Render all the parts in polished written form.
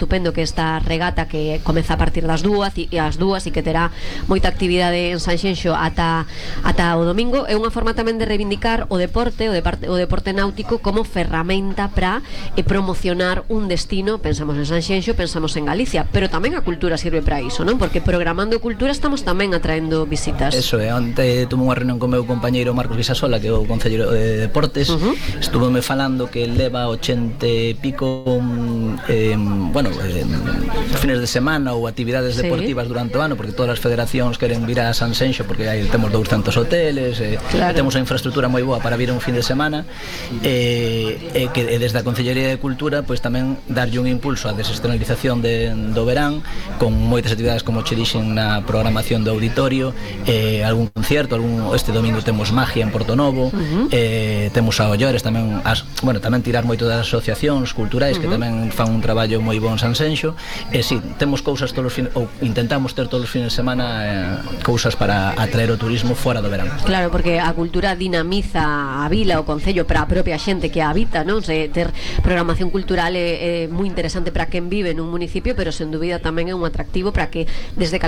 estupendo que esta regata que comeza a partir das 2 e que terá moita actividade en Sanxenxo ata o domingo. É unha forma tamén de reivindicar o deporte náutico como ferramenta para promocionar un destino. Pensamos en Sanxenxo, pensamos en Galicia, pero tamén a cultura sirve para iso, non? Porque programando cultura estamos tamén atraendo visitas. Eso é, onte tuve unha reunión con o meu compañeiro Marcos Visasola, que é o concelleiro de Deportes. Estuveme falando que leva 80 e pico fines de semana ou actividades deportivas durante o ano, porque todas as federacións queren vir a Sanxenxo porque aí temos 200 hoteles, temos a infraestructura moi boa para vir un fin de semana, que desde a Concellería de Cultura pois tamén darlle un impulso á desestacionalización do verán, con moitas actividades como che dixen na programación do auditorio, algún concierto, este domingo temos magia en Portonovo, temos a Ollores tamén, tamén tirar moito das asociacións culturais que tamén fan un traballo moi bon en Sanxenxo. Si, temos cousas todos os fines, ou intentamos ter todos os fines de semana cousas para atraer o turismo fora do verán. Claro, porque a cultura dinamiza a vila, o concello, para a propia xente que a habita, non? Ter programación cultural é moi interesante para quen vive nun municipio, pero sen dúbida tamén é un atractivo para que desde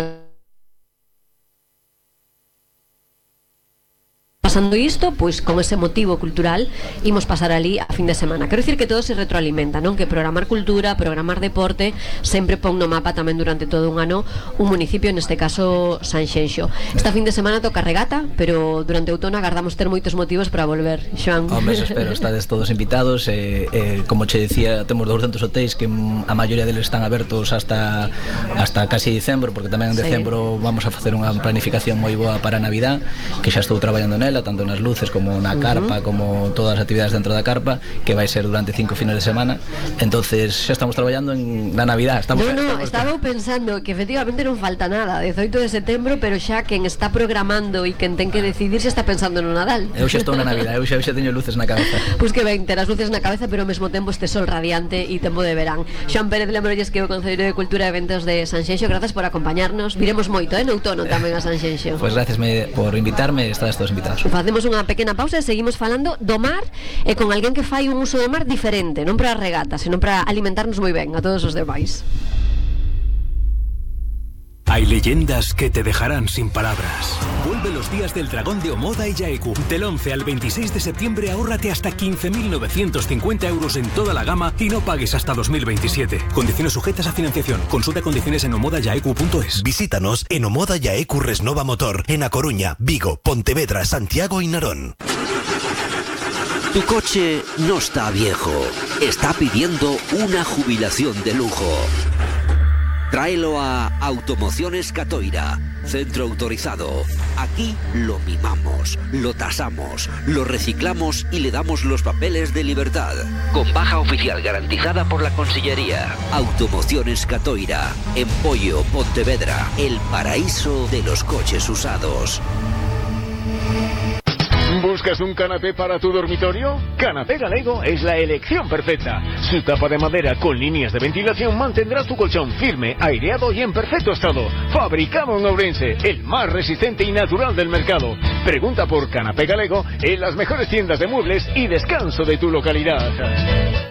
pasando isto, pois con ese motivo cultural imos pasar ali a fin de semana. Quero dicir que todo se retroalimenta, non? Que programar cultura, programar deporte sempre pon no mapa tamén durante todo un ano un municipio, neste caso Sanxenxo. Esta fin de semana toca regata, pero durante o outono agardamos ter moitos motivos para volver, Xoan. Hombre, espero, estades todos invitados, como che decía, temos 200 hotéis que a maioría deles están abertos hasta casi dicembro, porque tamén en decembro vamos a facer unha planificación moi boa para a Navidad, que xa estou traballando nela, tanto nas luces como na carpa, como todas as actividades dentro da carpa, que vai ser durante 5 fines de semana. Entonces xa estamos traballando na Navidad. Estaba pensando que efectivamente non falta nada, 18 de setembro, pero xa quen está programando e quen ten que decidir xa está pensando no Nadal. Eu xa estou na Navidad, eu xa teño luces na cabeza. Pois que ben, ter as luces na cabeza, pero ao mesmo tempo este sol radiante e tempo de verán. Xoan Pérez, lembrolles que é o Concelleiro de Cultura e Eventos de Sanxenxo. Grazas por acompañarnos. Viremos moito, no outono tamén a Sanxenxo. Pois gracias por invitarme, estades todos invitados. Facemos unha pequena pausa e seguimos falando do mar e con alguén que fai un uso do mar diferente, non para a regata, senón para alimentarnos moi ben a todos os demais. Hay leyendas que te dejarán sin palabras. Vuelve los días del dragón de Omoda y Yaeku. Del 11 al 26 de septiembre ahórrate hasta 15.950 euros en toda la gama y no pagues hasta 2027. Condiciones sujetas a financiación. Consulta condiciones en omodayaeku.es. Visítanos en Omoda Yaeku Resnova Motor, en A Coruña, Vigo, Pontevedra, Santiago y Narón. Tu coche no está viejo. Está pidiendo una jubilación de lujo. Tráelo a Automociones Catoira, centro autorizado. Aquí lo mimamos, lo tasamos, lo reciclamos y le damos los papeles de libertad. Con baja oficial garantizada por la Consellería. Automociones Catoira, en Pollo, Pontevedra, el paraíso de los coches usados. ¿Buscas un canapé para tu dormitorio? Canapé Galego es la elección perfecta. Su tapa de madera con líneas de ventilación mantendrá tu colchón firme, aireado y en perfecto estado. Fabricado en Ourense, el más resistente y natural del mercado. Pregunta por Canapé Galego en las mejores tiendas de muebles y descanso de tu localidad.